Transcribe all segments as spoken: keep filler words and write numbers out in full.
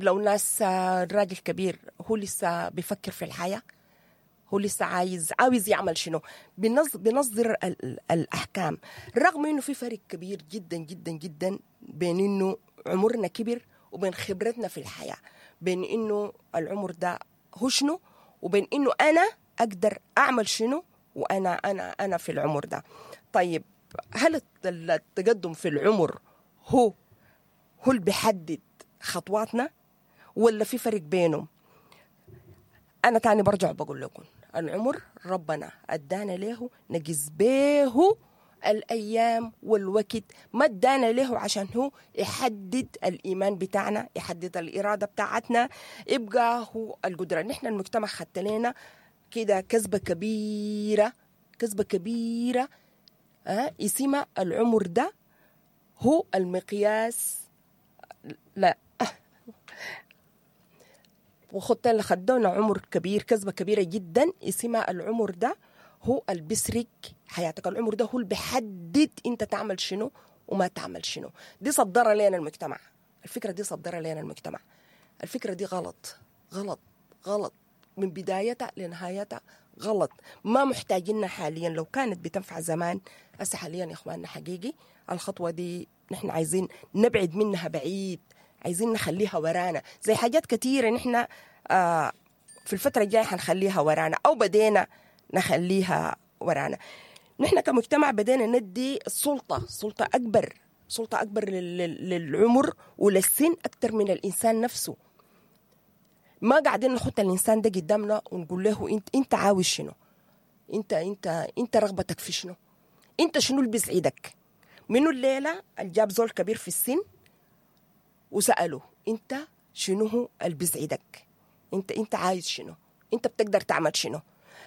لو ناس راجل كبير هو لسه بيفكر في الحياة، هو لسه عايز عاوز يعمل شنو، بنصدر الأحكام، رغم إنه في فرق كبير جدا جدا جدا بين إنه عمرنا كبر وبين خبرتنا في الحياة، بين إنه العمر ده هو شنو وبين إنه أنا أقدر أعمل شنو وأنا أنا أنا في العمر ده. طيب هل التقدم في العمر هو هو اللي بيحدد خطواتنا ولا في فرق بينهم؟ أنا تاني برجع بقول لكم العمر ربنا أدانا له نجز به الأيام والوقت، ما ادانا له عشان هو يحدد الإيمان بتاعنا، يحدد الإرادة بتاعتنا، يبقى هو القدرة. نحن المجتمع خدت لنا كده كذبة كبيرة، كذبة كبيرة أه؟ اسمها العمر ده هو المقياس. لا وخدت اللي خدونا عمر كبير، كذبة كبيرة جدا اسمها العمر ده هو اللي بيسرق حياتك، العمر ده هو اللي بيحدد انت تعمل شنو وما تعمل شنو. دي صدرها لنا المجتمع، الفكرة دي صدرها لنا المجتمع، الفكرة دي غلط غلط غلط من بدايتها لنهايتها غلط، ما محتاجينها حاليا. لو كانت بتنفع زمان، هسه حاليا يا اخواننا حقيقي الخطوة دي نحن عايزين نبعد منها بعيد، عايزين نخليها ورانا، زي حاجات كثيرة نحن آه في الفترة الجاية حنخليها ورانا أو بدينا نخليها ورانا. نحن كمجتمع بدينا ندي السلطة، سلطة أكبر، سلطة أكبر للعمر وللسن أكثر من الإنسان نفسه. ما قاعدين نحط الإنسان ده قدامنا ونقول له أنت أنت عاوز شنو؟ أنت أنت أنت رغبتك في شنو؟ أنت شنو اللي بيسعدك؟ منو الليلة اللي جاب زول كبير في السن وسأله أنت شنو هو اللي بيسعدك؟ أنت أنت عايز شنو؟ أنت بتقدر تعمل شنو؟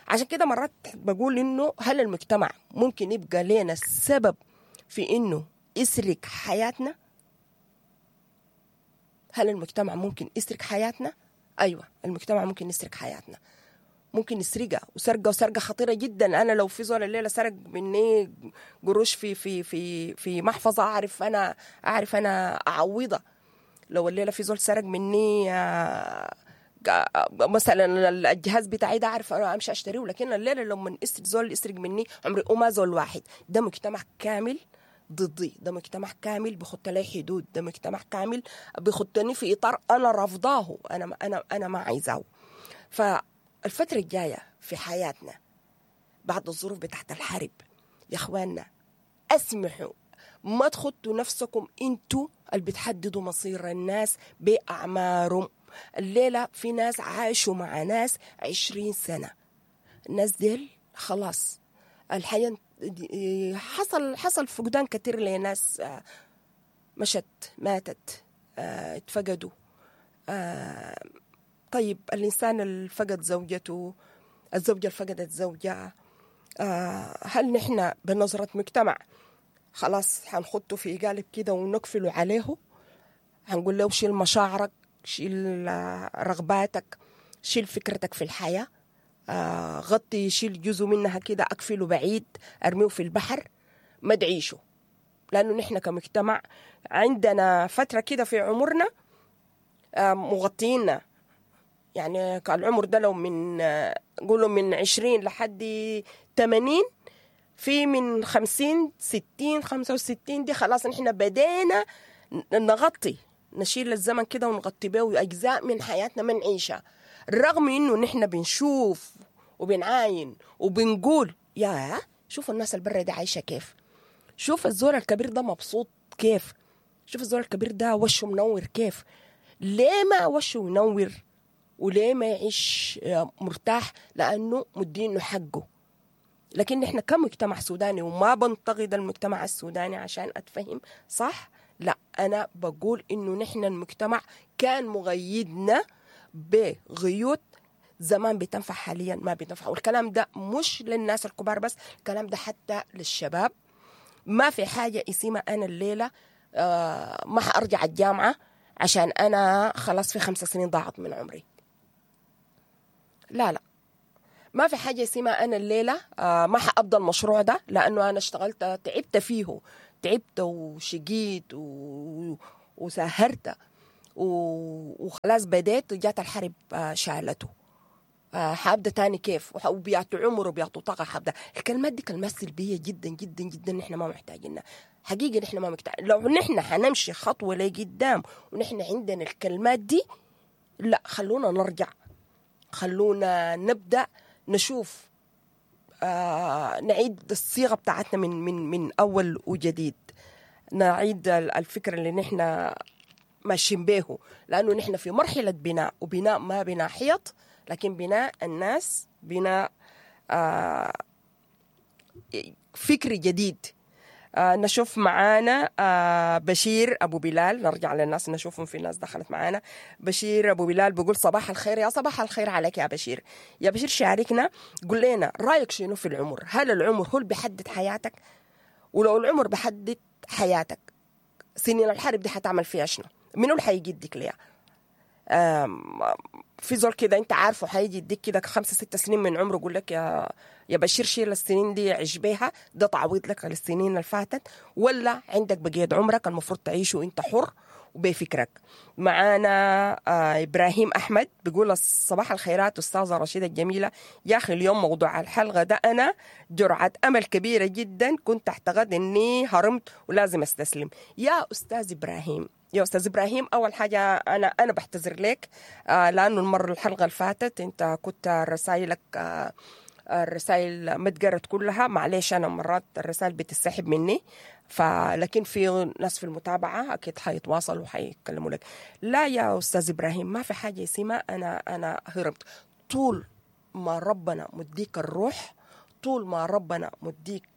عشان كده مرات بقول إنه هل المجتمع ممكن يبقى لنا السبب في إنه يسرق حياتنا؟ هل المجتمع ممكن يسرق حياتنا؟ أيوة المجتمع ممكن يسرق حياتنا، ممكن يسرقها، وسرقة وسرقة خطيرة جدا. أنا لو في زول الليلة سرق مني قروش في في في في محفظة أعرف أنا أعرف أنا أعوضها. لو الليلة في زول سرق مني مثلا الجهاز بتاعي ده أعرف أنا أمشي أشتريه، لكن الليلة لو من زول يسرق مني عمري وما زول واحد. ده مجتمع كامل ضدي، ده مجتمع كامل بخط لي حدود، ده مجتمع كامل بخطني في إطار أنا رافضاه، أنا أنا أنا ما عايزاه. فالفترة الجاية في حياتنا بعد الظروف بتاعت الحرب يا إخواننا أسمحوا ما تخطوا نفسكم انتوا اللي بتحددوا مصير الناس بأعمارهم. الليلة في ناس عاشوا مع ناس عشرين سنة، الناس ديل خلاص الحياة حصل حصل فقدان كتير لناس مشت ماتت اتفقدوا. طيب الإنسان اللي فقد زوجته، الزوجة اللي فقدت زوجها، هل نحن بنظرة مجتمع خلاص حنخطه في قالب كده ونقفله عليه؟ هنقول له شيل مشاعرك، شيل رغباتك، شيل فكرتك في الحياة، آه غطي، شيل جزء منها كده، أقفله بعيد، أرميه في البحر، ما تعيشه. لأنه نحن كمجتمع عندنا فترة كده في عمرنا آه مغطينا، يعني العمر ده لو من آه قولوا من عشرين لحد ثمانين، في من خمسين ستين خمسة وستين دي خلاص نحن بدينا نغطي، نشيل الزمن كده ونغطي به أجزاء من حياتنا ما نعيشها، رغم إنه نحن بنشوف وبنعاين وبنقول يا شوف الناس البرة دي عايشة كيف، شوف الزول الكبير ده مبسوط كيف، شوف الزول الكبير ده وشه منور كيف. ليه ما وشه منور وليه ما يعيش مرتاح؟ لأنه مدينه حقه. لكن نحن كمجتمع سوداني، وما بنتقد المجتمع السوداني عشان أتفهم صح، لا أنا بقول إنه نحن المجتمع كان مغيدنا بغيوت زمان بتنفع، حاليا ما بتنفع. والكلام ده مش للناس الكبار بس، الكلام ده حتى للشباب. ما في حاجة اسمها أنا الليلة آه ما حأرجع الجامعة عشان أنا خلاص في خمس سنين ضاعت من عمري. لا لا، ما في حاجة اسمها أنا الليلة آه ما حأبدأ المشروع ده لأنه أنا اشتغلت تعبت فيه، تعبت وشقيت و... وسهرت. وخلاص بديت وجات الحرب شالته، حابدا تاني كيف؟ وبياتو عمر وبياتو طاقة حابدا. الكلمات دي كلمات سلبية جدا جدا جدا، نحن ما محتاجينها حقيقة، نحن ما محتاجين. لو نحن حنمشي خطوة لقدام ونحن عندنا الكلمات دي، لا، خلونا نرجع، خلونا نبدأ نشوف آه نعيد الصيغة بتاعتنا من من من أول وجديد، نعيد الفكرة اللي نحن ماشيين به، لأنه نحن في مرحلة بناء، وبناء ما بناء حيط، لكن بناء الناس، بناء آه فكر جديد. آه نشوف معانا آه بشير أبو بلال، نرجع للناس نشوفهم، في ناس دخلت معانا. بشير أبو بلال بيقول صباح الخير. يا صباح الخير عليك يا بشير. يا بشير شاركنا، قول لنا رأيك شنو في العمر؟ هل العمر هو اللي بيحدد حياتك؟ ولو العمر بحدد حياتك، سنين الحرب دي حتعمل فيها شنو؟ منو اللي حيجي يديك ليها؟ في زول كده انت عارفه حيجي يديك كده خمسة ستة سنين من عمره يقول لك يا يا بشير شيل السنين دي عيش بيها، ده تعويض لك للسنين اللي فاتت، ولا عندك بقية عمرك المفروض تعيشه وانت حر وبفكرك؟ معانا آه إبراهيم أحمد بيقول صباح الخيرات أستاذة رشيدة الجميلة. يا أخي اليوم موضوع الحلقة ده أنا جرعة أمل كبيرة جدا، كنت أعتقد أني هرمت ولازم أستسلم. يا أستاذ إبراهيم، يا أستاذ إبراهيم، أول حاجة أنا أنا بعتذر لك آه لأنه المرة الحلقة اللي فاتت أنت كنت رسائلك آه الرسائل ما اتقرت كلها، معلش أنا مرات الرسائل بتسحب مني، فلكن في ناس في المتابعة أكيد حيتواصلوا وحيتكلموا لك. لا يا أستاذ إبراهيم، ما في حاجة اسمها أنا أنا هربت. طول ما ربنا مديك الروح، طول ما ربنا مديك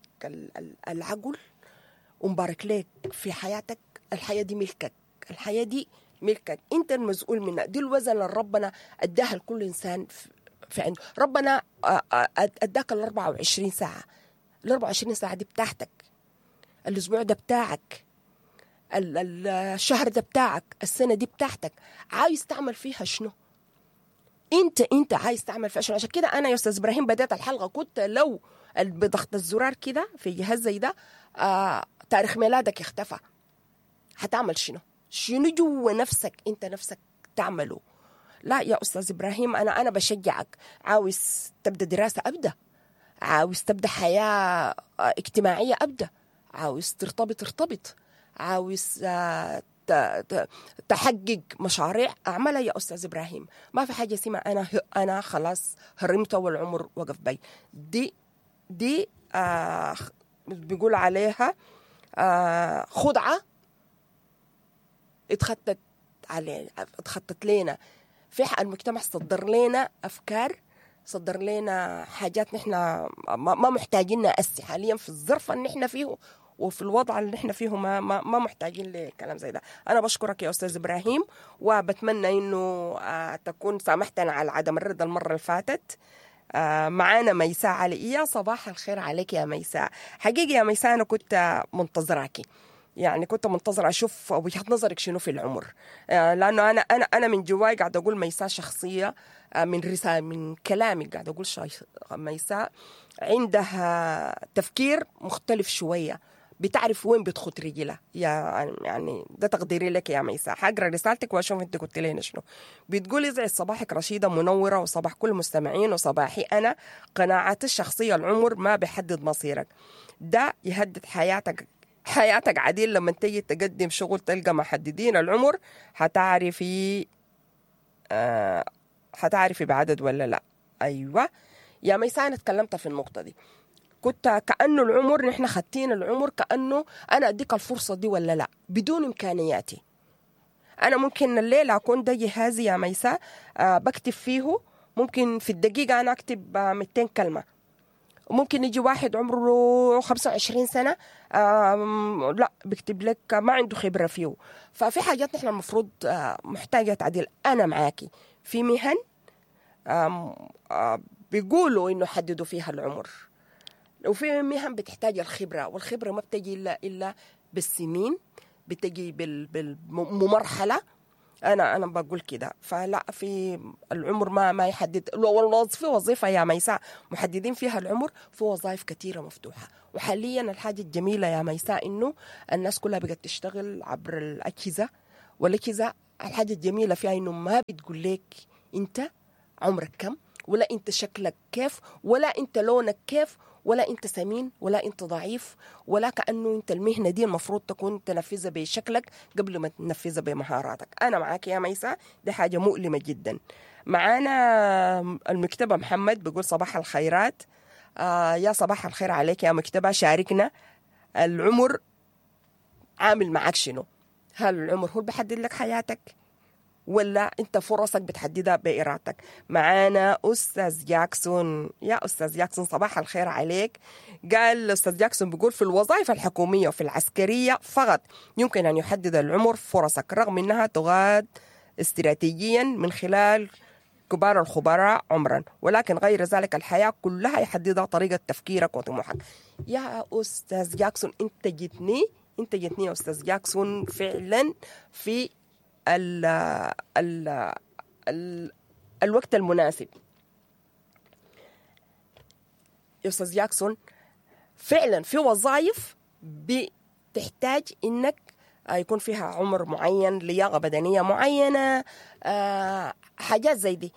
العقل ومبارك لك في حياتك، الحياة دي ملكك، الحياة دي ملكك، أنت المسؤول منها. دي الوزن اللي ربنا أداها لكل إنسان في عنده. ربنا أداك ال أربعة وعشرين ساعة، ال أربعة وعشرين ساعة دي بتاعتك، الأسبوع ده بتاعك، الشهر ده بتاعك، السنة دي بتاعتك، عايز تعمل فيها شنو؟ انت انت عايز تعمل فيها شنو؟ عشان كده انا يا استاذ ابراهيم بدأت الحلقة كنت لو بضغط الزرار كده في جهاز زي ده آه تاريخ ميلادك اختفى، هتعمل شنو؟ شنو جوا نفسك انت نفسك تعمله؟ لا يا استاذ ابراهيم، انا انا بشجعك. عاوز تبدا دراسة ابدا، عاوز تبدا حياة اجتماعية ابدا، عاوز ترتبط ارتبط، عاوز تحقق مشاريع اعملها يا استاذ ابراهيم. ما في حاجة اسمها انا انا خلاص هرمت والعمر وقف بي. دي دي آه بيقول عليها آه خدعه اتخطت علينا، اتخطت لنا في المجتمع، صدر لنا افكار، صدر لنا حاجات نحن ما محتاجينها أسي حاليا في الظرف اللي نحن فيه وفي الوضع اللي نحن فيه، ما ما, ما محتاجين لكلام زي ده. أنا بشكرك يا أستاذ إبراهيم، وبتمنى إنه تكون سامحتنا على عدم الرد المرة اللي فاتت. معانا ميساء علي. يا صباح الخير عليك يا ميساء. حقيقي يا ميساء أنا كنت منتظراكي، يعني كنت منتظرة أشوف وجهة نظرك شنو في العمر، لأنه أنا أنا أنا من جواي قاعدة أقول ميساء شخصية من رسالة من كلامي قاعدة أقول ميساء عندها تفكير مختلف شوية، بتعرف وين بتخط رجلها. يا يعني ده تقديري لك يا ميساء. حقرا رسالتك واشوف انت قلت لنا شنو. بتقولي يسعد صباحك رشيده منورة وصباح كل المستمعين وصباحي انا. قناعاتي الشخصية العمر ما بيحدد مصيرك، ده يهدد حياتك، حياتك عديل. لما تيجي تقدم شغل تلقى محددين العمر، حتعرفي آه حتعرفي بعدد ولا لا. ايوه يا ميساء انا اتكلمت في النقطة دي، كنت كأنه العمر نحن خدتين العمر كأنه أنا أديك الفرصة دي ولا لا بدون إمكانياتي. أنا ممكن الليلة أكون ده جهازي يا ميساء آه بكتب فيه، ممكن في الدقيقة أنا أكتب آه مئتين كلمة، ممكن يجي واحد عمره خمسة وعشرين سنة آه لا بكتب لك ما عنده خبرة فيه. ففي حاجات نحن المفروض آه محتاجة تعديل. أنا معاكي في مهن آه آه بيقولوا إنه حددوا فيها العمر، وفي مهن بتحتاج الخبرة، والخبرة ما بتجي إلا إلا بالسنين، بتجي بالمرحلة. أنا أنا بقول كده. فلا في العمر ما ما يحدد. لو في وظيفة يا ميساء محددين فيها العمر، في وظائف كثيرة مفتوحة. وحاليا الحاجة الجميلة يا ميساء إنه الناس كلها بقت تشتغل عبر الأجهزة، والأجهزة الحاجة الجميلة فيها إنه ما بتقول لك أنت عمرك كم، ولا أنت شكلك كيف، ولا أنت لونك كيف، ولا أنت سمين ولا أنت ضعيف، ولا كأنه أنت المهنة دي المفروض تكون تنفذها بشكلك قبل ما تنفذها بمهاراتك. أنا معاك يا ميساء، دي حاجة مؤلمة جدا. معانا المكتبة محمد بيقول صباح الخيرات. آه يا صباح الخير عليك يا مكتبة، شاركنا العمر عامل معاك شنو؟ هل العمر هو اللي بيحدد لك حياتك ولا انت فرصك بتحددها بإرادتك؟ معانا أستاذ جاكسون. يا أستاذ جاكسون صباح الخير عليك. قال أستاذ جاكسون بيقول في الوظائف الحكومية وفي العسكرية فقط يمكن أن يحدد العمر فرصك، رغم أنها تغاد استراتيجيا من خلال كبار الخبراء عمرا، ولكن غير ذلك الحياة كلها يحددها طريقة تفكيرك وطموحك. يا أستاذ جاكسون انت جيتني انت جيتني يا أستاذ جاكسون فعلا في ال ال ال الوقت المناسب. يا أستاذ جاكسون فعلا في وظائف بتحتاج إنك يكون فيها عمر معين، لياقة بدنية معينة، حاجات زي دي،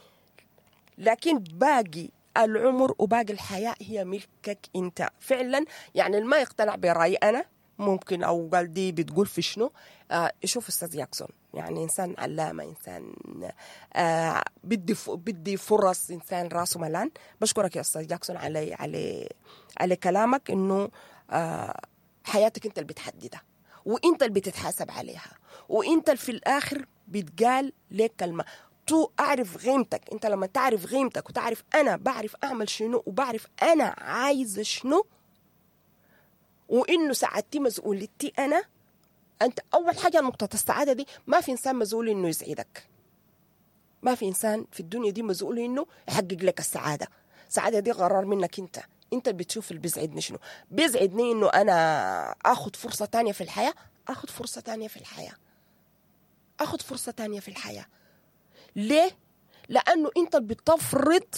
لكن باقي العمر وباقي الحياة هي ملكك انت فعلا. يعني ما يقتنع برأيي أنا ممكن أو قال دي بتقول في شنو، آه شوف أستاذ جاكسون يعني إنسان علامة، إنسان آه بدي بدي فرص، إنسان راسه ملان. بشكرك يا أستاذ جاكسون على على على كلامك، إنه آه حياتك أنت اللي بتحددها وأنت اللي بتتحاسب عليها، وأنت اللي في الآخر بتقال لك كلمة تو أعرف قيمتك. أنت لما تعرف قيمتك وتعرف أنا بعرف أعمل شنو وبعرف أنا عايزة شنو، وإنه سعادتي مسؤوليتي أنا. أنت أول حاجة نقطة السعادة دي، ما في إنسان مسؤول إنه يسعدك، ما في إنسان في الدنيا دي مسؤول إنه يحقق لك السعادة. السعادة دي قرار منك أنت، أنت اللي بتشوف اللي بيسعدني شنو. بيسعدني إنه أنا أخذ فرصة تانية في الحياة، أخذ فرصة تانية في الحياة، أخذ فرصة تانية في الحياة. ليه؟ لأنه أنت اللي بتفرض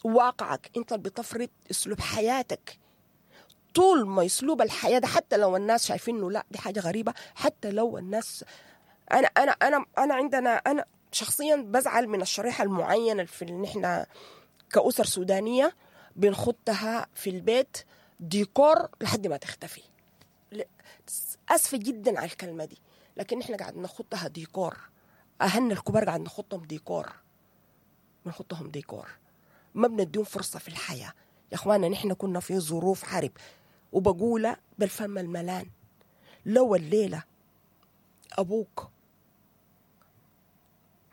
واقعك، أنت اللي بتفرض أسلوب حياتك. طول ما أسلوب الحياة ده حتى لو الناس شايفينه لا دي حاجة غريبة، حتى لو الناس أنا أنا أنا أنا عندنا أنا شخصيا بزعل من الشريحة المعينة في اللي نحن كأسر سودانية بنخطها في البيت ديكور لحد ما تختفي. أسفة جدا على الكلمة دي، لكن نحن قاعد نخطها ديكور. أهلنا الكبار قاعد نخطهم ديكور، بنخطهم ديكور، ما بنديهم فرصة في الحياة. يا أخوانا نحن كنا في ظروف حرب، وبقولها بالفم الملان، لو الليلة أبوك،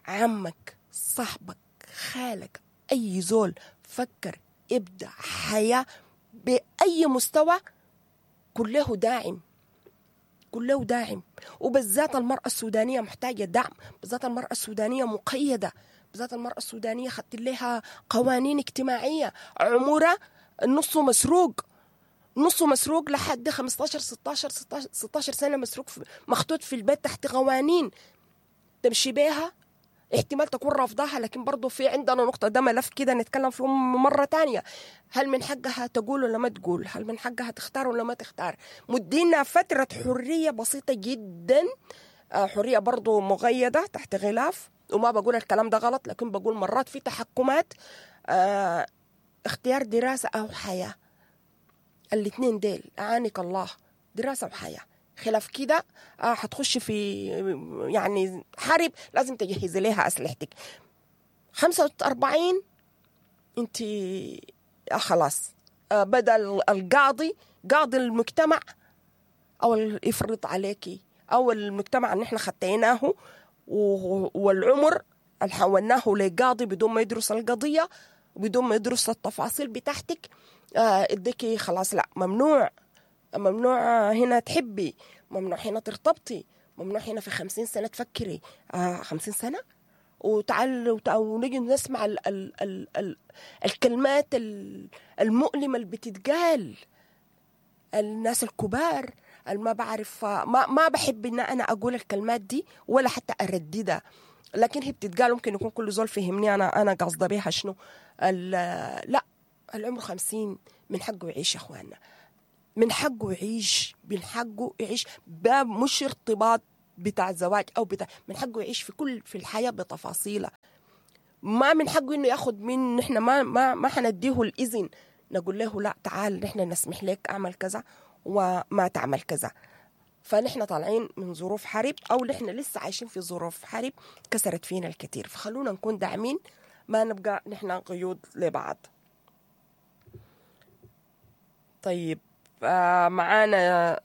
عمك، صاحبك، خالك، أي زول فكر ابدأ حياة بأي مستوى، كله داعم، كله داعم. وبالذات المرأة السودانية محتاجة دعم، بالذات المرأة السودانية مقيدة، بالذات المرأة السودانية خدت لها قوانين اجتماعية، عمرها نصه مسروق، نصه مسروق لحد خمستاشر ستاشر ستاشر سنة، مسروق في مخطوط في البيت تحت قوانين تمشي بيها، احتمال تكون رافضاها. لكن برضو في عندنا نقطة، ده ملف كده نتكلم فيه مرة تانية، هل من حقها تقول ولا ما تقول؟ هل من حقها تختار ولا ما تختار؟ مدينا فترة حرية بسيطة جدا، حرية برضو مقيدة تحت غلاف، وما بقول الكلام ده غلط، لكن بقول مرات في تحكمات، اه اختيار دراسة أو حياة، الاثنين ديل أعانك الله، دراسة وحياة. خلاف كده آه هتخش في يعني حرب لازم تجهزي لها أسلحتك. خمسة وأربعين انت آه خلاص، آه بدل القاضي، قاضي المجتمع أو يفرض عليكي، أو المجتمع اللي احنا خطيناه والعمر اللي حولناه لقاضي بدون ما يدرس القضية، بدون ما يدرس التفاصيل بتاعتك، آه اديكي خلاص لا ممنوع، ممنوع هنا تحبي، ممنوع هنا ترتبطي، ممنوع هنا في خمسين سنة تفكري، آه خمسين سنة وتعال ونجي نسمع ال ال ال ال الكلمات المؤلمة اللي بتتقال الناس الكبار، ما بعرف، ما ما بحب ان انا اقول الكلمات دي ولا حتى ارددها، لكن هي بتتقال، ممكن يكون كل زول فهمني انا انا قصده بيها شنو. لا العمر خمسين من حقه يعيش يا اخواننا، من حقه يعيش، من حقه يعيش، باب مش ارتباط بتاع زواج او بتاع، من حقه يعيش في كل في الحياة بتفاصيلها. ما من حقه انه ياخد من نحن، ما ما ما حنديه الاذن نقول له لا تعال نحن نسمح لك اعمل كذا وما تعمل كذا. فنحن طالعين من ظروف حرب، او نحن لسه عايشين في ظروف حرب كسرت فينا الكثير، فخلونا نكون داعمين، ما نبقى نحن قيود لبعض. طيب آه معانا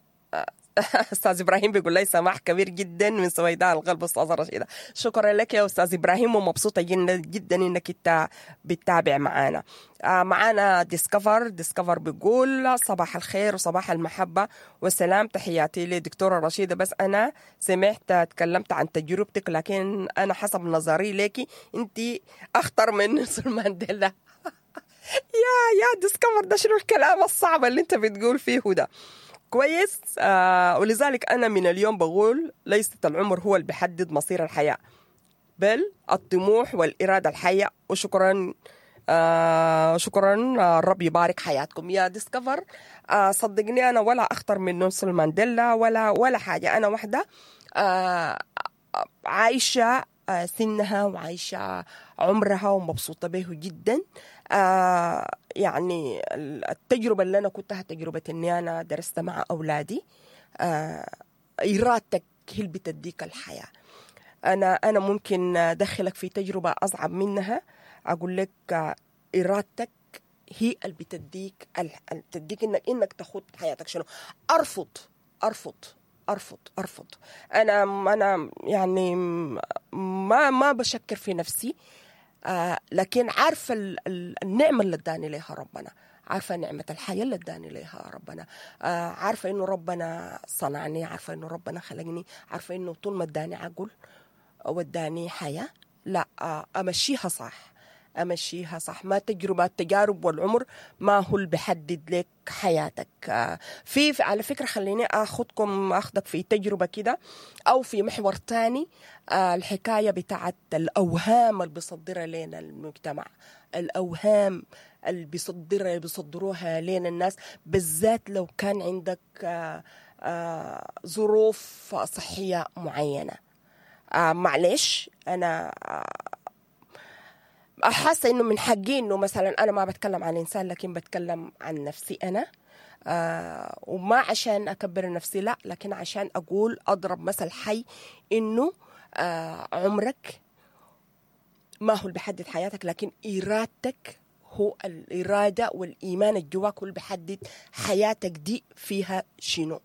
استاذ ابراهيم بيقول لي سماح كبير جدا من سويداء القلب استاذه رشيده. شكرا لك يا استاذ ابراهيم، ومبسوطة جدا جدا انك انت بتتابع معانا. آه معانا ديسكفر، ديسكفر بيقول صباح الخير وصباح المحبة والسلام، تحياتي لدكتوره رشيده. بس انا سمعت تكلمت عن تجربتك، لكن انا حسب نظري لك انت اخطر من نيلسون مانديلا. يا يا ديسكفر، ده شنو الكلام الصعب اللي انت بتقول فيه ده؟ كويس. آه ولذلك أنا من اليوم بقول ليست العمر هو اللي بيحدد مصير الحياة، بل الطموح والإرادة الحية. وشكرا آه شكرا، آه الرب يبارك حياتكم يا ديسكفر. آه صدقني أنا ولا أخطر من نيلسون مانديلا ولا ولا حاجة. أنا واحدة آه عايشة آه سنها وعايشة عمرها ومبسوطة به جدا. آه يعني التجربة اللي أنا كنتها تجربة إني أنا درست مع أولادي. آه إرادتك هي اللي بتديك الحياة. أنا أنا ممكن أدخلك في تجربة أصعب منها، أقول لك إرادتك هي اللي بتديك اللي بتديك إنك إنك تاخد حياتك. شنو؟ أرفض أرفض أرفض أرفض. أنا أنا يعني ما ما بشكر في نفسي، آه لكن عارفة النعمة اللي اداني ليها ربنا، عارفة نعمة الحياة اللي اداني ليها ربنا، آه عارفة إنه ربنا صنعني، عارفة إنه ربنا خلقني، عارفة إنه طول ما اداني عقل واداني حياة، لا آه أمشيها صح، أمشيها صح. ما تجربة التجارب والعمر ما هو اللي بيحدد لك حياتك. في على فكرة خليني أخذكم أخذك في تجربة كده أو في محور تاني، الحكاية بتاعت الأوهام اللي بيصدرها لنا المجتمع، الأوهام اللي بيصدرها بيصدروها لنا الناس، بالذات لو كان عندك ظروف صحية معينة. معلش أنا حاسه انه من حقي انه مثلا انا ما بتكلم عن انسان، لكن بتكلم عن نفسي انا، آه وما عشان اكبر نفسي لا، لكن عشان اقول اضرب مثل حي انه آه عمرك ما هو اللي بيحدد حياتك، لكن ارادتك هو الارادة والايمان الجواك هو اللي بيحدد حياتك دي فيها شنو.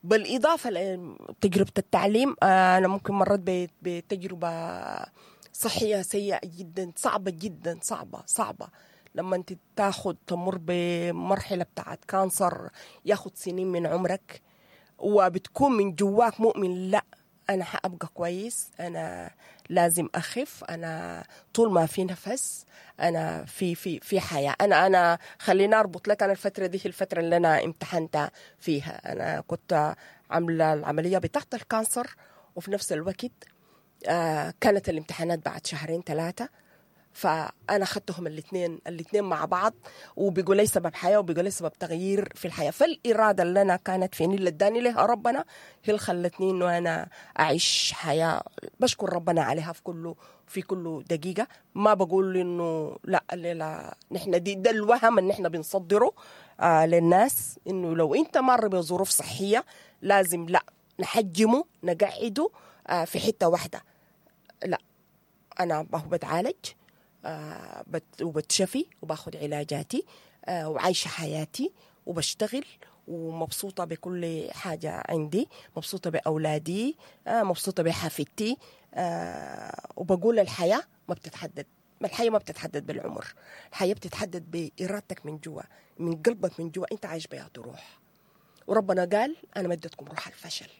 بالاضافة لتجربة التعليم، آه انا ممكن مرت بتجربه صحية سيئة جدا، صعبة جدا، صعبة صعبة لما انت تاخد تمر بمرحلة بتاعت cancer ياخد سنين من عمرك، وبتكون من جواك مؤمن لا أنا حأبقى كويس، أنا لازم أخف، أنا طول ما في نفس أنا في في في حياة. أنا أنا خليني أربط لك، أنا الفترة دي هي الفترة اللي أنا امتحنت فيها. أنا كنت عاملة العملية بتاعت ال cancer، وفي نفس الوقت آه كانت الامتحانات بعد شهرين ثلاثة، فأنا أخذتهم الاثنين الاثنين مع بعض، وبيقول لي سبب حياة وبيقول لي سبب تغيير في الحياة. فالإرادة اللي أنا كانت فيني اللي اداني لها ربنا هي اللي خلتني إنه أنا أعيش حياة بشكر ربنا عليها في كله في كل دقيقة. ما بقول إنه لا لا نحن دي ده الوهم اللي نحن بنصدره آه للناس، إنه لو أنت مر بظروف صحية لازم لا نحجمه نقعده آه في حتة واحدة. لا أنا بتعالج آه وبتشفي وباخد علاجاتي آه وعايشة حياتي وبشتغل ومبسوطة بكل حاجة عندي، مبسوطة بأولادي آه مبسوطة بحفيدتي آه وبقول الحياة ما بتتحدد، ما الحياة ما بتتحدد بالعمر، الحياة بتتحدد بإرادتك من جوا، من قلبك من جوا، أنت عايش بيها روح. وربنا قال أنا ما اديتكم روح الفشل،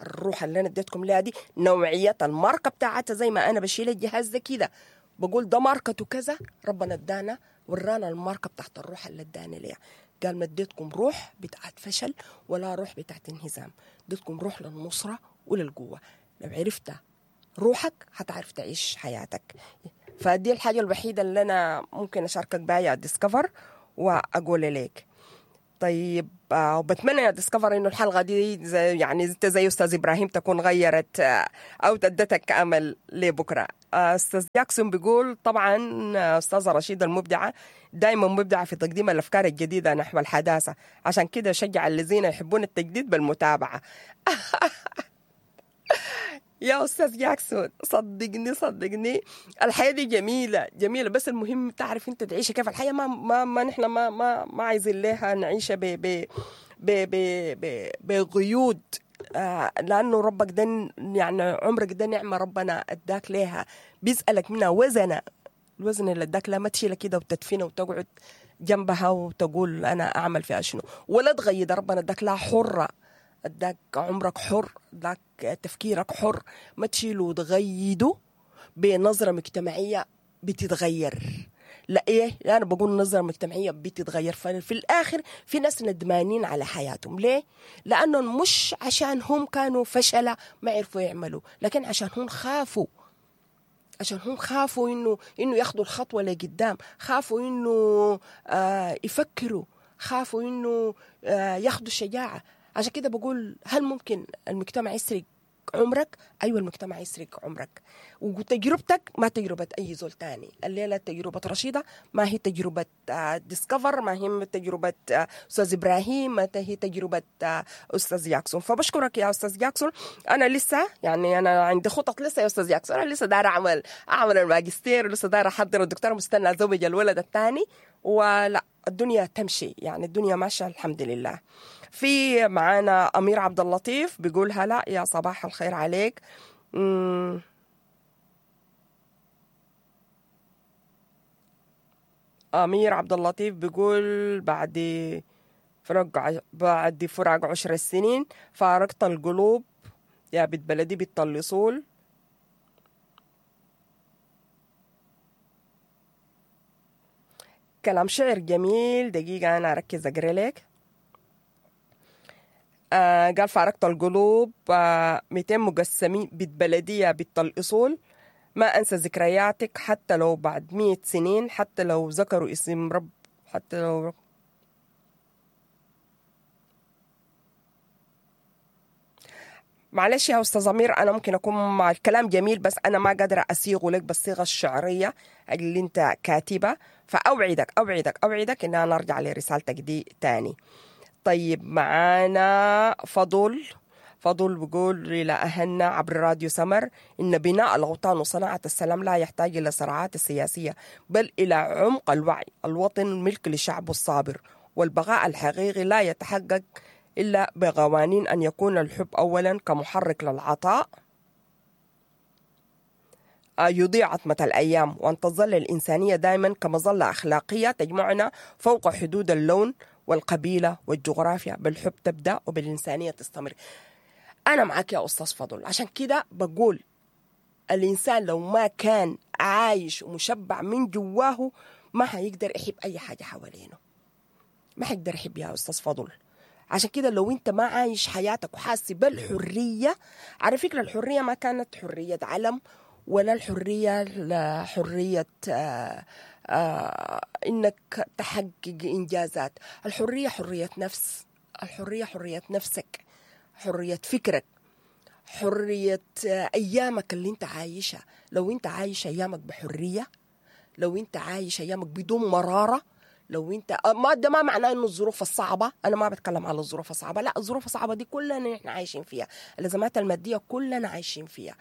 الروح اللي أنا اديتكم لها دي نوعية الماركة بتاعتها، زي ما أنا بشيل الجهاز ده كده بقول ده ماركته كذا، ربنا ادانا ورانا الماركة بتاعت الروح اللي ادانا ليها. قال ما اديتكم روح بتاعت فشل ولا روح بتاعت انهزام، اديتكم روح للنصرة وللقوة. لو عرفت روحك هتعرف تعيش حياتك. فدي الحاجة الوحيدة اللي أنا ممكن أشاركك بها يا ديسكفر وأقول لك. طيب آه، وبتمنى يا ديسكفر انه الحلقة دي زي يعني انت زي استاذ ابراهيم تكون غيرت آه، او ادتك امل لبكرة. آه، استاذ جاكسون بيقول طبعا آه، استاذه رشيده المبدعه دائما مبدعة في تقديم الافكار الجديدة نحو الحداثة، عشان كده شجع الذين يحبون التجديد بالمتابعة. يا استاذ جاكسون صدقني صدقني الحياة دي جميلة جميلة، بس المهم تعرف انت تعيشها كيف. الحياة ما ما ما نحن ما ما ما عايزين لها نعيشها ب ب ب ب ب بقيود، آه لانه ربك ده يعني عمرك ده نعمه ربنا اداك ليها، بيسالك منها وزنه، الوزن اللي اداك لا ما تشيلها كده وتدفنها وتقعد جنبها وتقول انا اعمل فيها شنو، ولا تغيد. ربنا اداك لها حره، اداك عمرك حر، اداك تفكيرك حر، ما تشيله وتغيده بنظرة مجتمعية بتتغير. لا ايه، لا انا بقول نظرة مجتمعية بتتغير، ففي الاخر في ناس ندمانين على حياتهم. ليه؟ لانهم مش عشان هم كانوا فشلة ما عرفوا يعملوا، لكن عشان هم خافوا، عشان هم خافوا انه انه ياخذوا الخطوة لقدام، خافوا انه آه يفكروا، خافوا انه آه ياخذوا الشجاعة. عشان كده بقول هل ممكن المجتمع يسرق عمرك؟ ايوه المجتمع يسرق عمرك، وتجربتك ما تجربه اي زول تاني. الليلة تجربه رشيده ما هي تجربه آه، ديسكفر، ما هي تجربه آه، استاذ ابراهيم، ما هي تجربه آه، استاذ جاكسون. فبشكرك يا استاذ جاكسون. انا لسه يعني انا عندي خطط لسه يا استاذ جاكسون، انا لسه دايرة اعمل اعمل الماجستير، ولسه دايرة احضر الدكتوراه، مستنى ازوج الولد الثاني، ولا الدنيا تمشي يعني، الدنيا ماشية الحمد لله. في معانا امير عبد اللطيف بيقول هلا يا صباح الخير عليك. مم. امير عبد اللطيف بيقول بعد فراق ع- بعد فراق عشر سنين فارقت القلوب يا بنت بلدي بنت الاصول. كلام شعر جميل، دقيقة أنا أركز أقرأ لك. آه قال فارقت القلوب آه مئتين مقسمين بنت بلدية بنت الأصول، ما أنسى ذكرياتك حتى لو بعد مئة سنين، حتى لو ذكروا اسم رب، حتى لو معلش يا أستاذ أمير، أنا ممكن أكون مع الكلام جميل بس أنا ما قادرة أصيغه لك بالصيغة الشعرية اللي أنت كاتبة، فأوعدك أوعدك أوعدك إن أنا أرجع لرسالتك دي تاني. طيب معانا فضل، فضل بيقول إلى أهلنا عبر راديو سمر إن بناء الأوطان وصناعة السلام لا يحتاج إلى صراعات السياسية، بل إلى عمق الوعي. الوطن ملك لشعبه الصابر، والبقاء الحقيقي لا يتحقق إلا بقوانين أن يكون الحب أولا كمحرك للعطاء يضيع عتمة الأيام، وأن تظل الإنسانية دائما كمظلة أخلاقية تجمعنا فوق حدود اللون والقبيلة والجغرافيا. بالحب تبدأ وبالإنسانية تستمر. أنا معك يا أستاذ فضل، عشان كده بقول الإنسان لو ما كان عايش ومشبع من جواه ما حيقدر يحب أي حاجة حوالينه، ما حيقدر يحب يا أستاذ فضل. عشان كده لو انت ما عايش حياتك وحاسس بالحرية، على فكرة الحرية ما كانت حرية علم، ولا الحرية لا حرية آه آه انك تحقق انجازات. الحرية حرية نفس، الحرية حرية نفسك، حرية فكرك، حرية آه ايامك اللي انت عايشها. لو انت عايش ايامك بحرية، لو انت عايش ايامك بدون مرارة، لو انت ما ده ما معناه انه الظروف الصعبة، انا ما بتكلم على الظروف الصعبة، لا الظروف الصعبة دي كلنا احنا عايشين فيها، الازمات المادية كلنا عايشين فيها،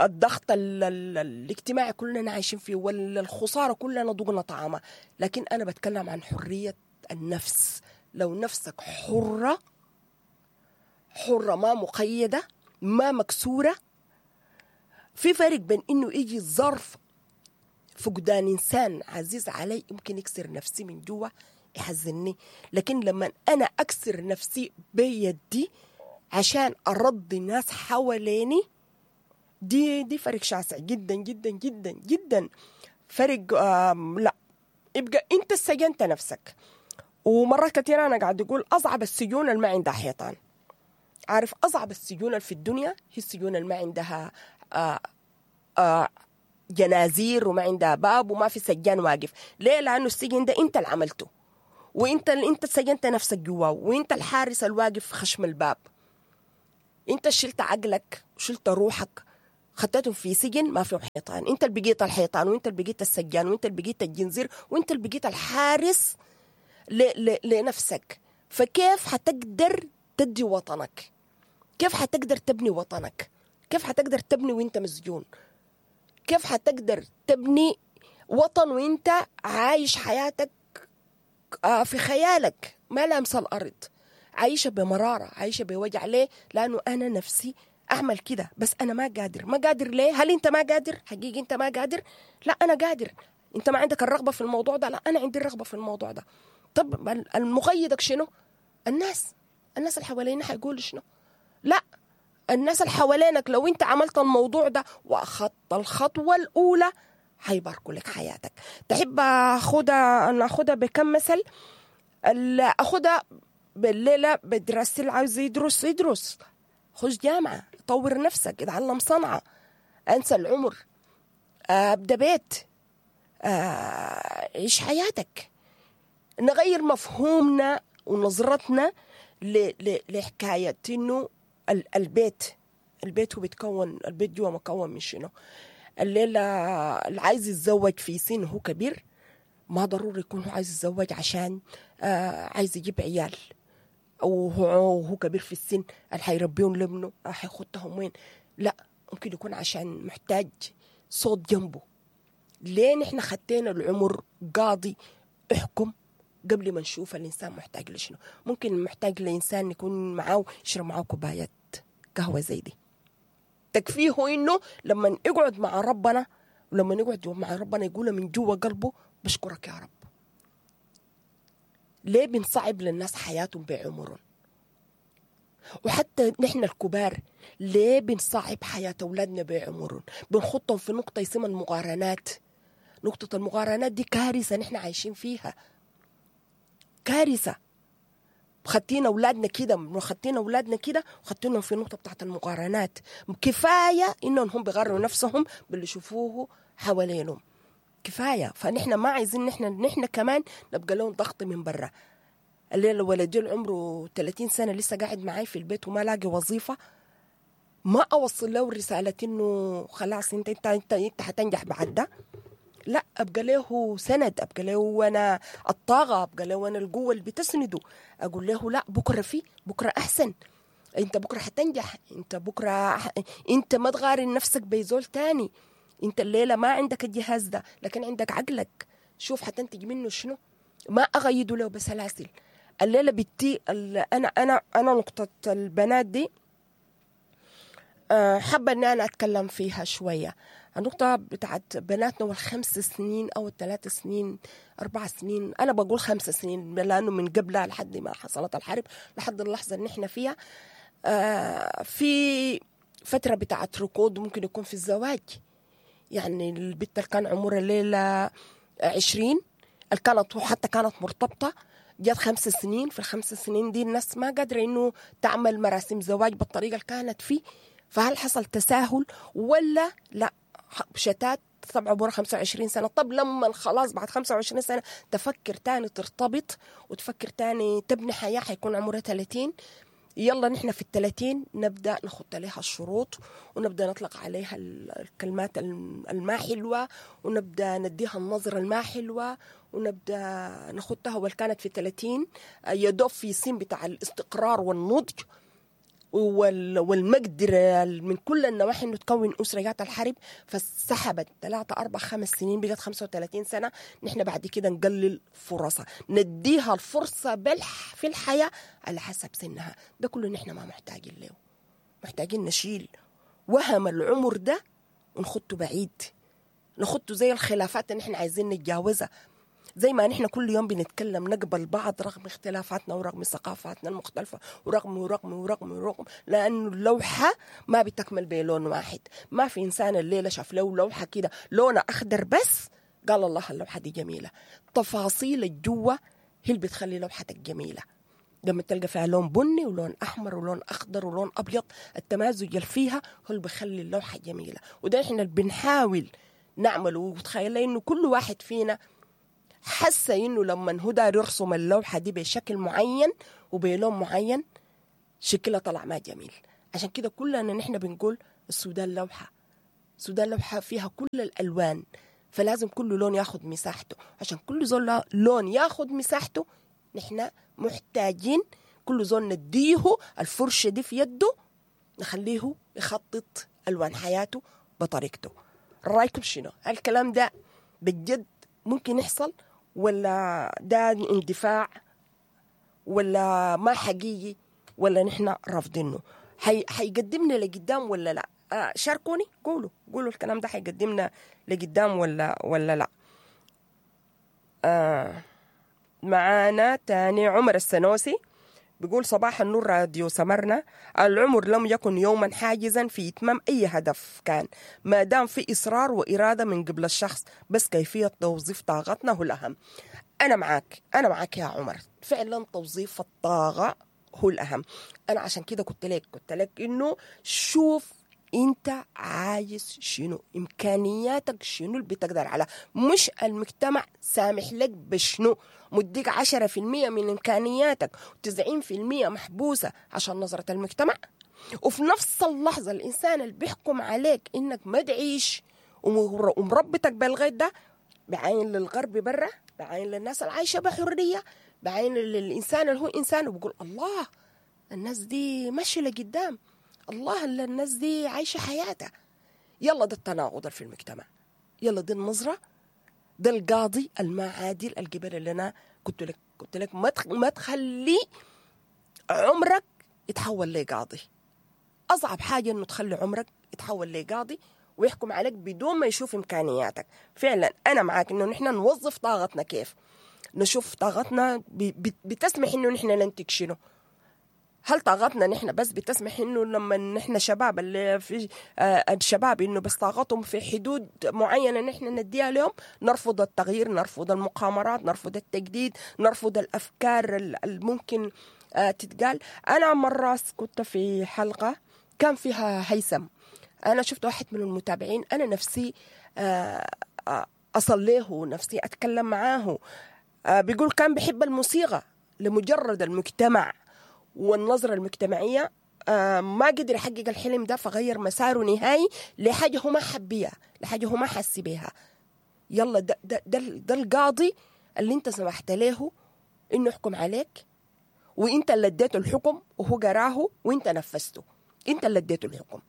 الضغط ال ال الاجتماعي كلنا عايشين فيه، والخسارة كلنا ذقنا طعامها. لكن انا بتكلم عن حرية النفس. لو نفسك حره، حره ما مقيده، ما مكسورة. في فرق بين انه يجي ظرف فقدان إنسان عزيز علي يمكن يكسر نفسي من جوا، يحزنني، لكن لما أنا أكسر نفسي بيدي عشان أرضي ناس حواليني، دي دي فرق شاسع جدا جدا جدا جدا. فرق لا يبقى أنت سجنت نفسك. ومرات كثيرة أنا قاعد أقول أصعب السجون اللي ما عندها حيطان. عارف أصعب السجون اللي في الدنيا هي السجون اللي ما عندها آه آه جنازير وما عندها باب وما في سجان واقف. ليه؟ لأنه السجن ده أنت اللي عملته، وانت اللي انت سجنت نفسك جواه، وانت الحارس الواقف في خشم الباب. انت شلت عقلك وشلت روحك خطيتهم في سجن ما فيه حيطان. انت اللي بقيت الحيطان، وانت اللي بقيت السجان، وانت اللي بقيت الجنزير، وانت اللي بقيت الحارس ل... ل... لنفسك. فكيف حتقدر تدي وطنك؟ كيف حتقدر تبني وطنك؟ كيف حتقدر تبني وانت مسجون؟ كيف حتقدر تبني وطن وانت عايش حياتك في خيالك ما لامس الأرض، عايشة بمرارة، عايشة بوجع؟ ليه؟ لأنه أنا نفسي أعمل كده بس أنا ما قادر. ما قادر ليه؟ هل أنت ما قادر؟ حقيقي أنت ما قادر؟ لا أنا قادر. أنت ما عندك الرغبة في الموضوع ده؟ لا أنا عندي الرغبة في الموضوع ده. طب المقيدك شنو؟ الناس، الناس اللي حوالينا حيقولوا شنو؟ لا، الناس اللي حوالينك لو أنت عملت الموضوع ده وأخذت الخطوة الأولى حيباركوا لك حياتك. تحب أخدها ناخدها بكم مثل؟ أخدها بالليلة بدراستي، اللي عاوز يدرس يدرس، خش جامعة، طور نفسك، اتعلم صنعة، انسى العمر، ابدأ بيت، عيش حياتك. نغير مفهومنا ونظرتنا لحكاية إنه البيت، البيت هو بيتكون، البيت جوا مكون من شنو؟ الليلة اللي عايز يتزوج في سن هو كبير ما ضروري يكون هو عايز يتزوج عشان آه عايز يجيب عيال، أو هو كبير في السن اللي حيربيهم لابنه حيخدهم وين؟ لا، ممكن يكون عشان محتاج صوت جنبه. ليه نحن خدينا العمر قاضي احكم قبل ما نشوف الإنسان محتاج لشنو؟ ممكن محتاج لإنسان يكون معاه يشرب معاه كوباية قهوة زي دي، تكفيه إنه لما يقعد مع ربنا، ولما يقعد مع ربنا يقول من جوا قلبه بشكرك يا رب. ليه بنصعب للناس حياتهم بعمرهم؟ وحتى نحن الكبار ليه بنصعب حياة أولادنا بعمرهم؟ بنخطهم في نقطة اسمها المقارنات. نقطة المقارنات دي كارثة نحن عايشين فيها، كارثة. خدتينا أولادنا كده، خدتينا أولادنا كده وخدتينهم في النقطة بتاعت المقارنات. كفاية إنهم هم بيغروا نفسهم باللي يشوفوه حوالينهم، كفاية. فنحن ما عايزين نحن نحن كمان نبقى لهم ضغط من برا. الليلة ولدي عمره ثلاثين سنة لسه قاعد معاي في البيت وما لاقي وظيفة، ما أوصل له رسالة إنه خلاص أنت أنت أنت أنت حتنجح بعد ده. لا، أبقى له سند، أبقى له أنا الطاقة، أبقى له أنا القوة اللي بتسنده. أقول له لا، بكرة في بكرة أحسن، أنت بكرة حتنجح، أنت بكرة ح... أنت ما تغارن نفسك بيزول تاني. أنت الليلة ما عندك الجهاز ده لكن عندك عقلك، شوف حتنتج منه شنو. ما أغيده له بسلاسل. الليلة بتي أنا أنا أنا نقطة البنات دي حابة إن أنا أتكلم فيها شوية. النقطة بتاعت بناتنا والخمس سنين أو الثلاث سنين أربع سنين، أنا بقول خمس سنين لأنه من قبلها لحد ما حصلت الحرب لحد اللحظة اللي نحن فيها، في فترة بتاعت ركود ممكن يكون في الزواج. يعني البنت اللي كان عمرها الليلة عشرين، اللي كانت حتى كانت مرتبطة، جات خمس سنين. في الخمس سنين دي الناس ما قادرة إنه تعمل مراسم زواج بالطريقة اللي كانت فيه. فهل حصل تساهل ولا لا؟ شتات طبعا عمرها خمسة وعشرين سنة. طب لما خلاص بعد خمسة وعشرين سنة تفكر تاني ترتبط وتفكر تاني تبني حياة، حيكون عمرها ثلاثين. يلا نحن في الثلاثين نبدأ نخط عليها الشروط ونبدأ نطلق عليها الكلمات الما حلوة ونبدأ نديها النظرة الما حلوة ونبدأ نخطها. والكانت في الثلاثين يدوب في سن بتاع الاستقرار والنضج والمقدرة من كل النواحي انه تكون أسرة. جات الحرب فسحبت ثلاثة أربع خمس سنين، بقت خمسة وثلاثين سنة. نحن بعد كده نقلل فرصة، نديها الفرصة بالح في الحياة على حسب سنها. ده كله نحن ما محتاجين له، محتاجين نشيل وهم العمر ده ونخطه بعيد، نخطه زي الخلافات اللي نحن عايزين نتجاوزها. زي ما نحن كل يوم بنتكلم نقبل بعض رغم اختلافاتنا ورغم ثقافاتنا المختلفة ورغم ورغم ورغم ورغم، لأنه اللوحة ما بتكمل بلون واحد. ما في إنسان الليلة شاف له لوحة كده لونها أخضر بس قال الله اللوحة دي جميلة. تفاصيل الجوة هي اللي بتخلي لوحتك جميلة. لما تلقى فيها لون بني ولون أحمر ولون أخضر ولون أبيض، التمازج اللي فيها هو اللي بيخلي اللوحة جميلة. وده إحنا اللي بنحاول نعمله. وتخيل إنه كل واحد فينا حس إنه لما هو داير يرسم اللوحة دي بشكل معين وبلون معين شكلها طلع ما جميل. عشان كده كلنا نحن بنقول السودان لوحة، السودان لوحة فيها كل الألوان، فلازم كل لون ياخد مساحته. عشان كل زول لون ياخد مساحته نحن محتاجين كل زول نديه الفرشة دي في يده، نخليه يخطط ألوان حياته بطريقته. رأيكم شنو؟ الكلام ده بجد ممكن يحصل ولا ده اندفاع ولا ما حقيقي ولا نحن رافضينه؟ حي... حيقدمنا لقدام ولا لا؟ آه شاركوني، قولوا قولوا الكلام ده حيقدمنا لقدام ولا ولا لا. آه معانا تاني عمر السنوسي بيقول صباح النور راديو سمرنا، العمر لم يكن يوما حاجزا في إتمام أي هدف كان ما دام في إصرار وإرادة من قبل الشخص، بس كيفية توظيف طاقتنا هو الأهم. أنا معاك، أنا معاك يا عمر، فعلا توظيف الطاقة هو الأهم. أنا عشان كده قلت لك قلت لك إنه شوف أنت عايز شنو، إمكانياتك شنو اللي بتقدر على، مش المجتمع سامح لك بشنو، مديك عشرة في المية من إمكانياتك وتسعين في المية محبوسة عشان نظرة المجتمع. وفي نفس اللحظة الإنسان اللي بيحكم عليك إنك ما تعيش ومربتك بالغيط ده بعين للغرب برا، بعين للناس العايشة بحرية، بعين للإنسان اللي هو إنسان، وبقول الله الناس دي ماشية لقدام، الله الناس دي عايشة حياتها. يلا ده التناقض في المجتمع، يلا دي النظرة، ده القاضي الما عادل الجبل اللي أنا قلت لك قلت لك ما ما تخلي عمرك يتحول لقاضي. أصعب حاجة إنه تخلي عمرك يتحول لقاضي ويحكم عليك بدون ما يشوف إمكانياتك. فعلا أنا معاك إنه نحن نوظف طاقتنا كيف، نشوف طاقتنا بتسمح إنه نحن ننتج شنو. هل طاقتنا نحن بس بتسمح إنه لما نحن شباب اللي في آه الشباب إنه بس طاقتهم في حدود معينة نحن نديها لهم، نرفض التغيير، نرفض المقامرات، نرفض التجديد، نرفض الأفكار الممكن آه تتقال. أنا مرة كنت في حلقة كان فيها هيثم، أنا شفت واحد من المتابعين، أنا نفسي آه آه أصليه، نفسي أتكلم معاه، آه بيقول كان بحب الموسيقى لمجرد المجتمع والنظرة المجتمعية آه ما قدر يحقق الحلم ده، فغير مساره نهائي لحاجة هو ما حبيها، لحاجة هو ما حس بيها. يلا ده, ده, ده, ده القاضي اللي انت سمحت له انه يحكم عليك، وانت اللي اديته الحكم وهو قراه وانت نفذته، انت اللي اديته الحكم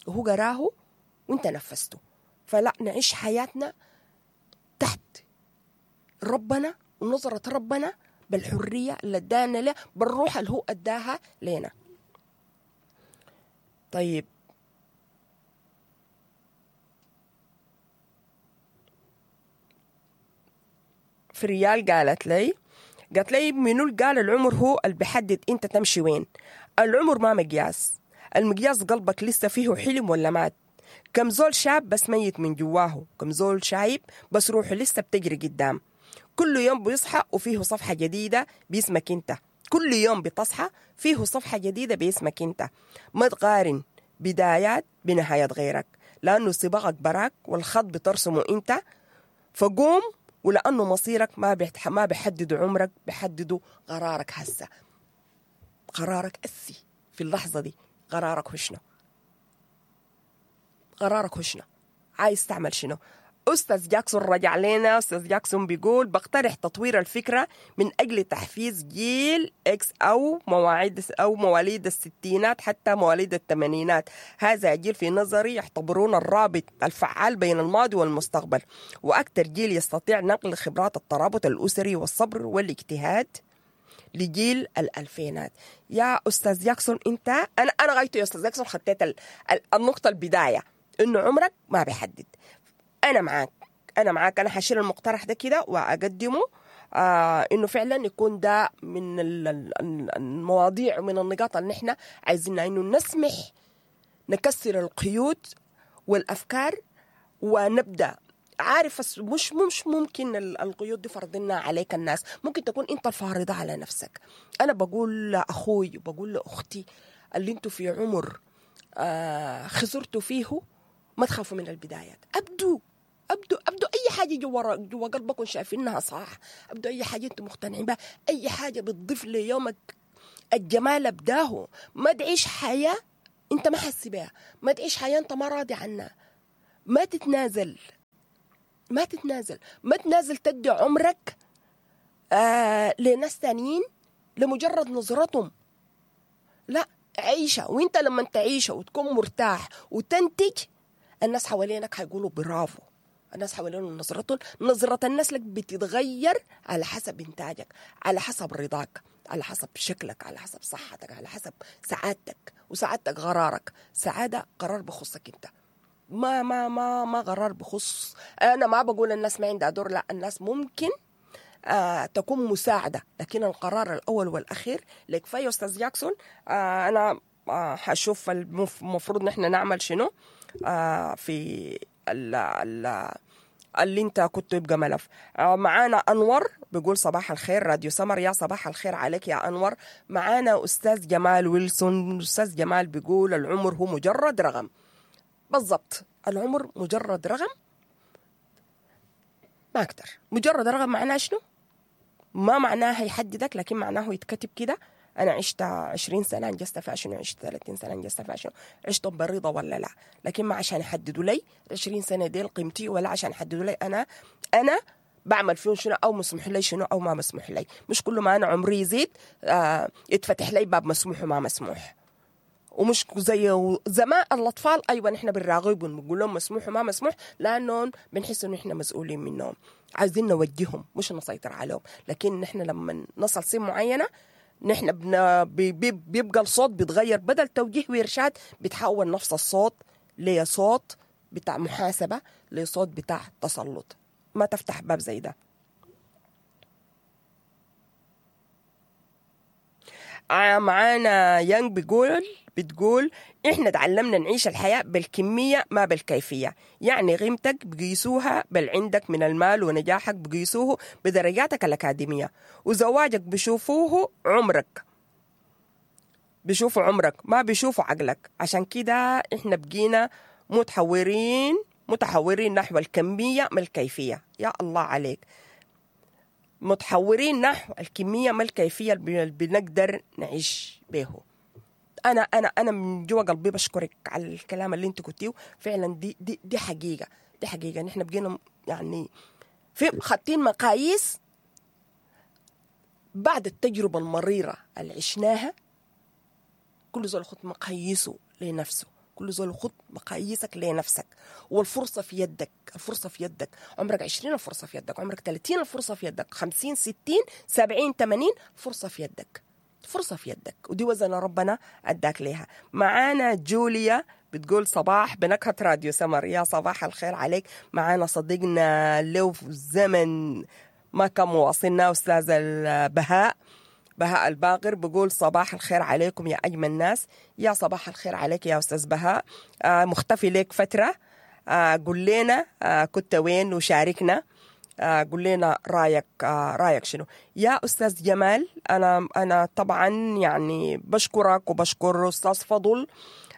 وهو قراه وانت نفذته. فلا نعيش حياتنا تحت ربنا ونظرة ربنا بالحرية اللي ادانا له، بالروح اللي هو اداها لنا. طيب فريال قالت لي قالت لي منو قال العمر هو اللي بيحدد انت تمشي وين؟ العمر ما مقياس، المقياس قلبك لسه فيه حلم ولا مات. كم زول شاب بس ميت من جواه، كم زول شايب بس روحه لسه بتجري قدام. كل يوم بيصحى وفيه صفحة جديدة باسمك انت، كل يوم بتصحى فيه صفحة جديدة باسمك انت. ما تقارن بدايات بنهاية غيرك، لأنه سباقك براك والخط بترسمه انت. فقوم، ولأنه مصيرك ما بيحت... ما بيحددوا عمرك، بيحددوا قرارك هسه، قرارك أسي في اللحظة دي. قرارك هو شنو؟ قرارك هو شنو؟ عايز تعمل شنو؟ أستاذ جاكسون رجع لنا. أستاذ جاكسون بيقول بقترح تطوير الفكرة من أجل تحفيز جيل إكس أو مواعيد أو مواليد الستينات حتى مواليد الثمانينات. هذا جيل في نظري يعتبرون الرابط الفعال بين الماضي والمستقبل، وأكثر جيل يستطيع نقل خبرات الترابط الأسري والصبر والاجتهاد لجيل الألفينات. يا أستاذ جاكسون أنت، أنا أنا غايته يا أستاذ جاكسون خطيت النقطة البداية إنه عمرك ما بيحدد. أنا معاك، أنا معاك، أنا حشيل المقترح ده كده وأقدمه، آه إنه فعلا يكون ده من المواضيع ومن النقاط اللي نحن عايزينها، إنه نسمح نكسر القيود والأفكار ونبدأ. عارف مش مش ممكن القيود دي فرضنا عليك الناس، ممكن تكون أنت الفارضة على نفسك. أنا بقول لأخوي وبقول لأختي اللي أنتوا في عمر آه خسرتوا فيه، ما تخافوا من البدايات، أبدوا أبدوا أبدوا أي حاجة جوا جوا قلبكم شايفينها صح، ابدوا اي حاجة انتم مقتنعين بها، اي حاجة بتضيف ليومك الجمال ابداه. ما تعيش حياة انت ما حاسس بها، ما تعيش حياة انت ما راضي عنها، ما تتنازل، ما تتنازل، ما تنازل تدي عمرك آه لناس تانيين لمجرد نظرتهم. لا، عيشة، وانت لما تعيشها وتكون مرتاح وتنتج، الناس حوالينك حيقولوا برافو. الناس حوالينهم نظرتهم، نظرة الناس لك بتتغير على حسب انتاجك، على حسب رضاك، على حسب شكلك، على حسب صحتك، على حسب سعادتك. وسعادتك قرارك، سعادة قرار بخصك انت، ما ما ما ما قرار بخص. انا ما بقول الناس ما عندها دور، لا، الناس ممكن آه تكون مساعدة، لكن القرار الأول والأخير لك. فيا أستاذ جاكسون، آه أنا آه حشوف المفروض نحن نعمل شنو آه في ال ال اللي انت كنت يبقى ملف. آه معانا أنور بيقول صباح الخير راديو سمر، يا صباح الخير عليك يا أنور. معانا أستاذ جمال ويلسون، أستاذ جمال بيقول العمر هو مجرد رقم. بالضبط، العمر مجرد رقم، ما أكتر. مجرد رقم معناه شنو؟ ما معناه يحددك، لكن معناه يتكتب كده. أنا عشت عشرين سنة أنجزت فيها شنو، عشت ثلاثين سنة أنجزت فيها شنو، عشت برضا ولا لا. لكن ما عشان يحددوا لي عشرين سنة دي قيمتي، ولا عشان يحددوا لي أنا أنا بعمل فيهم شنو، أو مسموح لي شنو أو ما مسموح لي. مش كل ما أنا عمري يزيد آه يتفتح لي باب مسموح وما مسموح. ومش زي زمان الأطفال، أيوة نحن بنراغبهم بنقول لهم مسموح وما مسموح، لأنهم بنحس إنه إحنا مسؤولين منهم، عايزين نوجههم مش نسيطر عليهم. لكن نحن لما نصل سن معينة نحن بن... بي... بيبقى الصوت بيتغير، بدل توجيه وإرشاد بتحول نفس الصوت لصوت بتاع محاسبة، لصوت بتاع تسلط. ما تفتح باب زي ده. معانا يانج بيقول بتقول احنا تعلمنا نعيش الحياة بالكمية ما بالكيفية، يعني قيمتك بقيسوها بل عندك من المال، ونجاحك بقيسوه بدرجاتك الأكاديمية، وزواجك بشوفوه عمرك، بشوفوا عمرك ما بيشوفوا عقلك. عشان كده احنا بقينا متحورين متحورين نحو الكمية ما الكيفية. يا الله عليك، متحورين نحو الكمية ما الكيفية اللي بنقدر نعيش به. أنا أنا أنا من جوا قلبي بشكرك على الكلام اللي أنت قلتيه، فعلا دي دي دي حقيقة، دي حقيقة. نحن بقينا يعني في خاطين مقاييس بعد التجربة المريرة اللي عشناها. كل زول خط مقاييسه لنفسه، كل زول خط مقاييسك لنفسك، والفرصة في يدك، الفرصة في يدك. عمرك عشرين الفرصة في يدك، عمرك ثلاثين الفرصة في يدك، خمسين ستين سبعين ثمانين فرصة في يدك، فرصة في يدك، ودي وزن ربنا أداك ليها. معانا جوليا بتقول صباح بنكهة راديو سمر، يا صباح الخير عليك. معانا صديقنا لو في الزمن ما كان مواصلنا أستاذ البهاء بهاء الباقر بقول صباح الخير عليكم يا أجمل ناس. يا صباح الخير عليك يا أستاذ بهاء، آه مختفي لك فترة، آه قل لنا آه كنت وين وشاركنا، آه قل لنا رايك، آه رايك شنو يا أستاذ جمال. أنا أنا طبعا يعني بشكرك وبشكر أستاذ فضل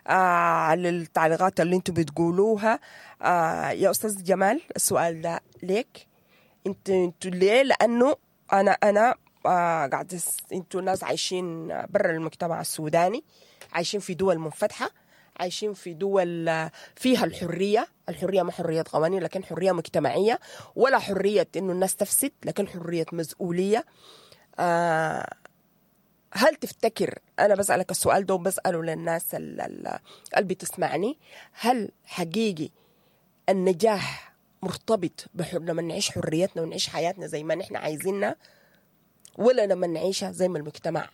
آه على التعليقات اللي انتم بتقولوها. آه يا أستاذ جمال السؤال ده ليك انت انتوا ليه؟ لأنه أنا أنا آه قاعد انتوا ناس عايشين برا المجتمع السوداني، عايشين في دول منفتحة، عايشين في دول فيها الحرية، الحرية ما حرية قوانين لكن حرية مجتمعية، ولا حرية إنه الناس تفسد لكن حرية مسؤولية. آه هل تفتكر، أنا بسألك السؤال ده وبسأله للناس اللي بتسمعني، هل حقيقي النجاح مرتبط بحر لما نعيش حريتنا ونعيش حياتنا زي ما نحن عايزينها، ولا لما نعيشها زي ما المجتمع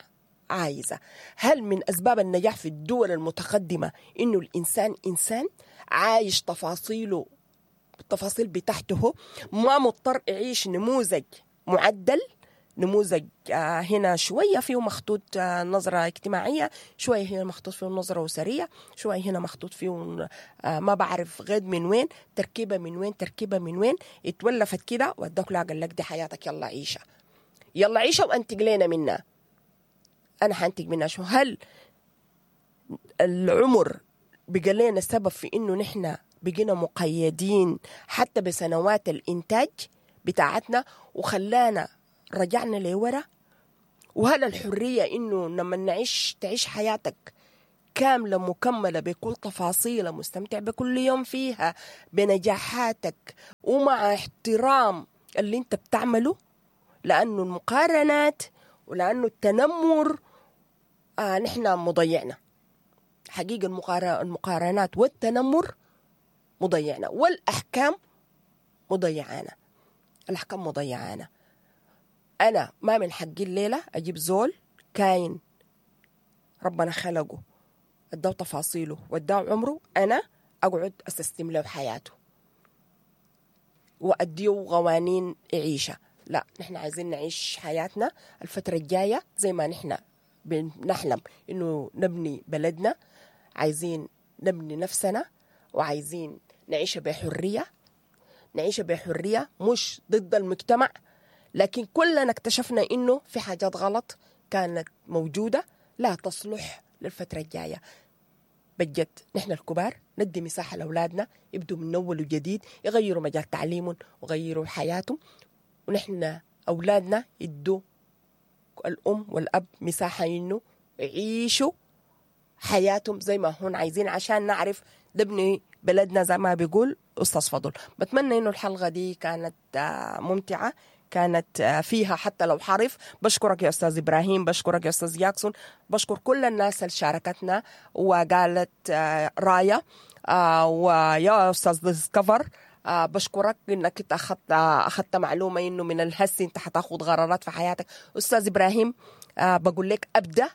عايزة؟ هل من أسباب النجاح في الدول المتقدمة إنه الإنسان إنسان عايش تفاصيله، التفاصيل بتاعته، ما مضطر يعيش نموذج معدل، نموذج هنا شوية فيه مخطوط نظرة اجتماعية، شوية هنا مخطوط فيه نظرة أسرية، شوية هنا مخطوط فيه ما بعرف غير من وين، تركيبة من وين، تركيبة من وين، اتولفت كده واداك لا قال لك دي حياتك، يلا عيشة، يلا عيشة وانتج لنا منها. أنا حانتج منها شو؟ هل العمر بقى لنا سبب في إنه نحن بقينا مقيدين حتى بسنوات الإنتاج بتاعتنا وخلانا رجعنا لورا؟ وهل الحرية إنه لما نعيش تعيش حياتك كاملة مكملة بكل تفاصيلها، مستمتع بكل يوم فيها، بنجاحاتك، ومع احترام اللي انت بتعمله؟ لأنه المقارنات ولأنه التنمر آه نحن مضيعنا حقيقة. المقارنات والتنمر مضيعنا، والأحكام مضيعانا، الأحكام مضيعانا. أنا ما من حقي الليلة أجيب زول كاين ربنا خلقه، اداه تفاصيله واداه عمره، أنا أقعد أستسلم له حياته وأديه قوانين يعيشها. لا، نحن عايزين نعيش حياتنا الفترة الجاية زي ما نحن بنحلم إنه نبني بلدنا، عايزين نبني نفسنا، وعايزين نعيش بحرية، نعيش بحرية مش ضد المجتمع. لكن كلنا اكتشفنا إنه في حاجات غلط كانت موجودة لا تصلح للفترة الجاية. بجد نحن الكبار ندي مساحة لأولادنا يبدوا من أول وجديد، يغيروا مجال تعليمهم وغيروا حياتهم، ونحن أولادنا يدوا الأم والأب مساحة إنه يعيشوا حياتهم زي ما هون عايزين، عشان نعرف نبني بلدنا زي ما بيقول أستاذ فضل. بتمنى إنه الحلقة دي كانت ممتعة، كانت فيها حتى لو حرف. بشكرك يا أستاذ إبراهيم، بشكرك يا أستاذ جاكسون، بشكر كل الناس اللي شاركتنا وقالت راية، ويا أستاذ ديسكفر بشكرك إنك أنت أخذت أخذت معلومة إنه من الهس أنت حتاخد قرارات في حياتك. أستاذ إبراهيم بقول لك أبدأ